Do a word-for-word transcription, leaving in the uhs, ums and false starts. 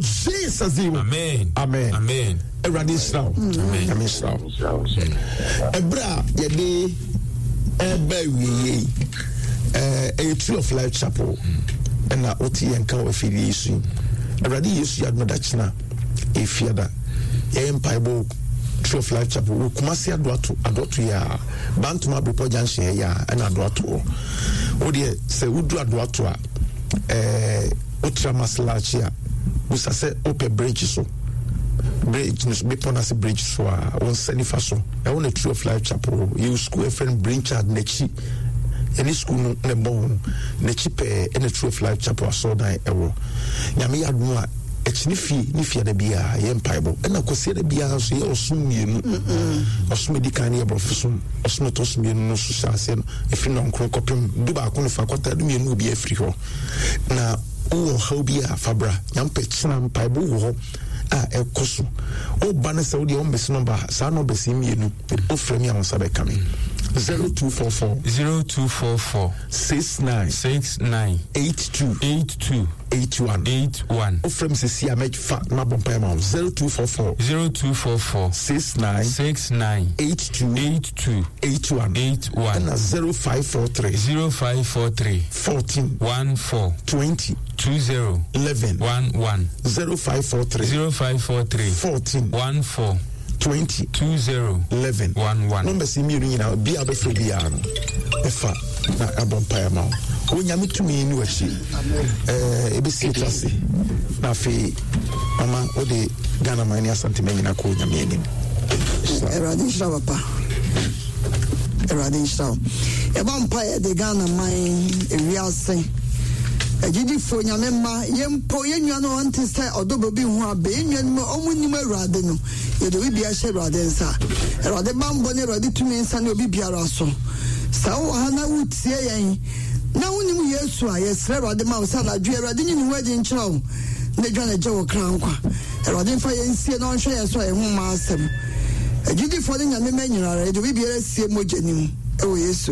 Jesus din mu. Amen. Amen. Amen. Awurade nhyira wo. Nyame nhyira wo. Ɛberɛ a yɛde ɛreba awieeɛ yi, ɛyɛ Tree of Life Chapel ɛna wote yɛn ka wɔ afidie yi so yi. Awurade Yesu yɛ adom dakyena ɛfiada yɛyɛ mpaebɔ Tree of Life Chapel wɔ Kumasi Adoato Adoato yɛ a Bantama Abrepɔ Junction yɛ a ɛna Adoato wɔ. Wodeɛ sɛ wodu Adoato a ɛɛ wotra Maslachi a busa sɛ wopɛ bridge so bridge no so bepɔ no ase bridge so a wo nsa nifa so ɛwɔ na Tree of Life Chapel yɛwɔ school ɛfrɛ no Brain Child n'akyi ɛne school no na ɛbɔ ho n'akyi pɛɛ ɛna Tree of Life Chapel asɔɔdan ɛwɔ. Nyame yɛ adom a akyi ne fie ne fiada biara yɛ mpaebɔ ɛna kwasiada biara nso yɛ ɔsom mmienu. Ɔsom edi kan no yɛ borɔfo som, ɔsom ɛtɔ so mmienu no nso hyɛ aseɛ no ɛfiri nɔnkron kɔpem du baako no fa kɔta du mmienu obi afiri hɔ. Na wowɔ ɔhaw bi a fa bra. Nyampɛ kyena mpaebɔ wɔ hɔ a ɛkɔ so. Woba no sɛ wodeɛ wommɛsi nɔmba saa nɔmbɛsi mmienu wofrɛ me a wo nsa bɛka me. zero two four four zero two four four six nine six nine eight two eight two eight one eight one. Wofrɛ me sɛsi a mɛfa na mabɔ mpaeɛ ma wo. zero two four four zero two four four six nine six nine eight two eight two eight one eight one ɛna zero five four three zero five four three fourteen one four twenty two zero eleven one one zero five four three zero five four three fourteen one four twenty two zero eleven one one. Numbers yi mmienu nyinaa obi a bɛfrɛ biara no ɛfa na abɔ mpaeɛ ma wo. Onyame tumi ne w'akyi. Ɛɛ ebɛsi etu ase na afei mama wode Ghana man ne Asante man nyinaa kɔ Onyame anim. Awurade nhyira papa. Awurade nhyira wo. Yɛbɔ mpaeɛ de Ghana man ewiase agyidifoɔ Nyame mma yɛn mpo yɛn nua no ɔnte sɛ ɔdɔbɔ bi ho abɛ yɛn nua no mu ɔmo nim Awurade no yɛde obi biara hyɛ Awurade nsa. Awurade bambɔ ne Awurade tumi nsa ne obi biara so. Sɛ wowɔ ha na wotie yɛn na wonim Yesu a yɛsrɛ Awurade ma wo sɛ anadwo Awurade nyi ne ho adi nkyerɛ wo na dwa ne gye wo kra nkwa. Awurade mfa yɛn nsie na ɔnhwɛ yɛn so a yɛn ho mma asɛm. Agyidifoɔ ne Nyame mma nyinara yɛde obi biara sie mogya nim ɛwɔ Yesu